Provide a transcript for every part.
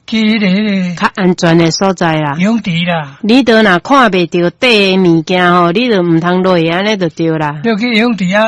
去彼个較安全的所在啦。游泳池啦。你都若看袂著底的物件吼，你就毋通落去按呢就對啦。你去游泳池啊，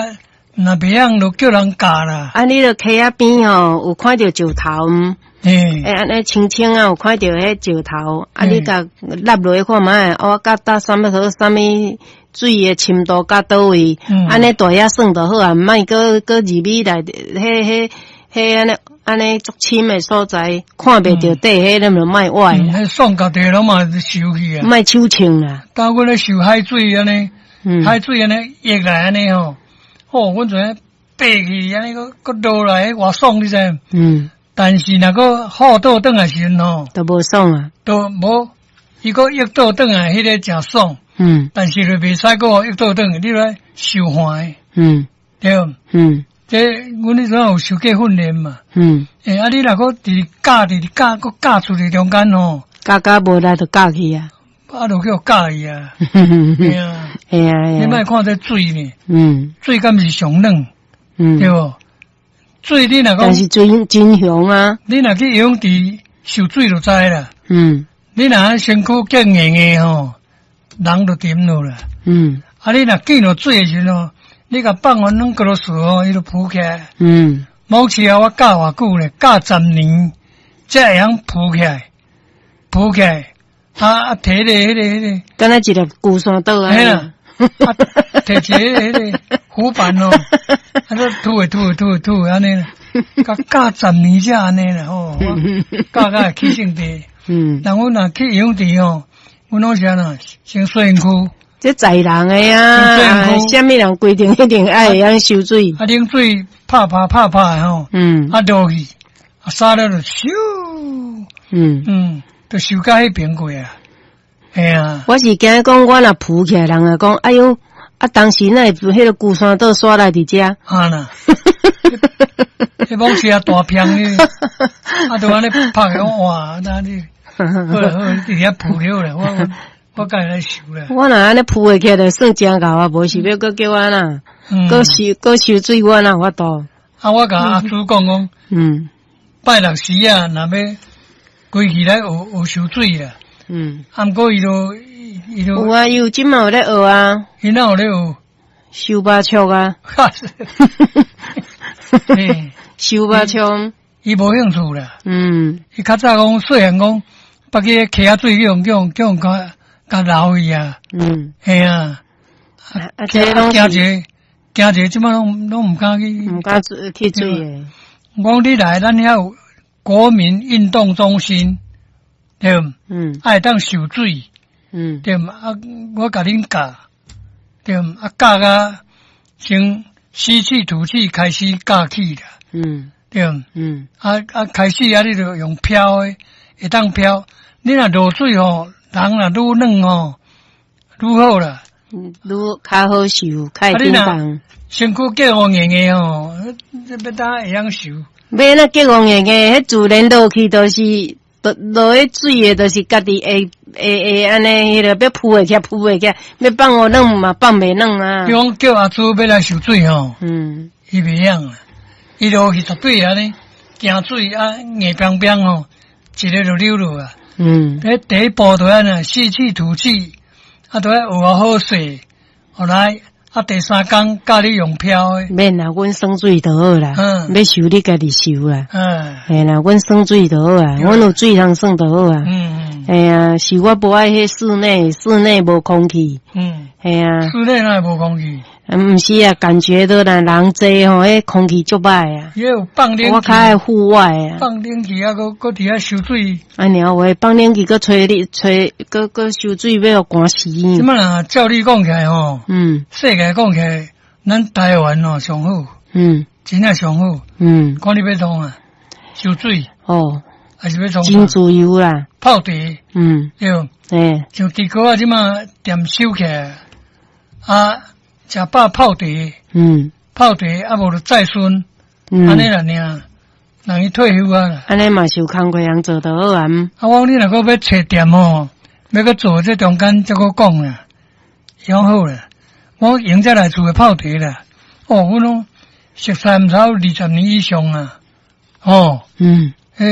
若袂曉就叫人教啦。啊，你著溪仔邊吼，有看著石頭毋？欸，按呢清清啊，有看著彼石頭，啊，你共納落去看覓，哦，佮搭啥物好，啥物水的深度佮佗位，按呢蹛遐耍就好啊，毋莫閣閣入去內底，彼彼彼按呢按呢足深的所在，看袂著底，彼你就莫歪啦。彼爽家己攏嘛受去啊。莫手銃啦。當阮咧受海水按呢，海水按呢溢來按呢吼，吼，阮就按呢爬去按呢閣閣落來，偌爽你知無？但是若閣好倒轉來時陣吼，都無爽啊。都無，伊閣溢倒轉來，彼個誠爽。但是就袂使閣溢倒轉，你來受寒。對。這阮彼陣有受過訓練嘛？欸，啊，你若閣佇教佇教，閣教出去中間吼，教教無力就教去啊。啊，就叫教去啊。嘿啊。嘿啊。你莫看這水呢？水敢是上冷？對無？水你若講，但是水真雄啊！你若去游泳池受水就知啦。你若身軀結硬硬吼，人就沉落啦。啊，你若見著水的時陣吼，你共放予軟骨落吼，伊就浮起來。某次啊，我教偌久咧，教10年，才會曉浮起來，浮起來。啊啊，提咧彼個彼個，敢若一粒龜山島啊！嘿啦，啊，提一个彼個浮板哦，啊，都吐的吐的吐的吐的按呢，共教十年才按呢啦吼，教甲會起性地。人阮若去游泳池吼，阮攏是按怎先洗身軀。這在人的啊，啥物人規定一定愛會曉泅水。啊，冷水拍拍拍拍吼，啊落去，啊沙了就咻，就泅到彼邊過啊，嘿啊。我是驚講，我若浮起來，人會講，哎喲，啊當時哪會彼个龜山島煞來佇遮？啊啦，彼往時啊大片呢，啊就按呢拍起哇，那你好啦好，佇遐浮了啦，我家己來泅啦。我若按呢浮會起來，就算誠𠢕啊，無是欲閣叫我按怎，閣泅閣泅水，我哪有法度？啊，我共阿祖講講，拜六時啊，若欲規氣來學學泅水啦。啊，毋過伊都伊都有啊，伊有這馬有咧學啊。伊哪有咧學？泅巴笑啊！泅巴笑。伊無興趣啦。伊較早講細漢講，捌去溪仔水去予叫予共共流去啊。嘿啊。啊，這攏驚一個，驚一個，這馬攏攏毋敢去。毋敢去水的。我講你來，咱遐有國民運動中心，對毋？啊，會當泅水。對毋？啊，我共恁教，對毋？啊，教甲先吸氣吐氣開始教起啦。對毋？啊啊，開始啊，你就用飄的，會當飄。你若落水吼，人若愈軟吼，愈好啦。愈較好泅，較會振動。身軀結予硬硬吼，這欲當會曉泅？欲按怎結予硬硬，彼自然落去就是落落去水的，就是家己會會會按呢，彼个欲浮會起來，浮袂起來，欲放予軟嘛放袂軟啊。比講叫阿祖欲來泅水吼，伊袂曉啦，伊落去絕對按呢驚水啊硬邦邦吼，一个就溜落啊。彼第一步就按呢吸氣吐氣，啊，都愛學好勢，後來啊，第三工教你用飄的。免啦，阮耍水就好啦。欲泅你家己泅啦。嘿啦，阮耍水就好啊，阮有水通耍就好啊。嘿啊，是我無愛彼室內，室內無空氣。嘿啊。室內哪會無空氣？毋是啊，感覺到啦，人濟吼，彼空氣足歹啊。伊有放冷氣。我較愛戶外啊。放冷氣啊，閣閣佇遐泅水。按呢話，放冷氣閣吹你吹，閣閣泅水欲予寒死。這擺若照你講起來吼，世界講起來，咱台灣吼上好。真正上好。看你欲創啊，泅水。還是欲創？真自由啦。泡茶。對。像豬哥啊，這擺店收起來，啊，食飽泡茶。泡茶啊，無就載孫。按呢啦爾，人伊退休啊。按呢嘛是有工課通做就好啊。啊，我講你若閣欲揣店吼，欲閣做這中間才閣講啦，講好啦。我用這來厝的泡茶啦。哦，阮攏熟似毋知有20年以上啊。哦。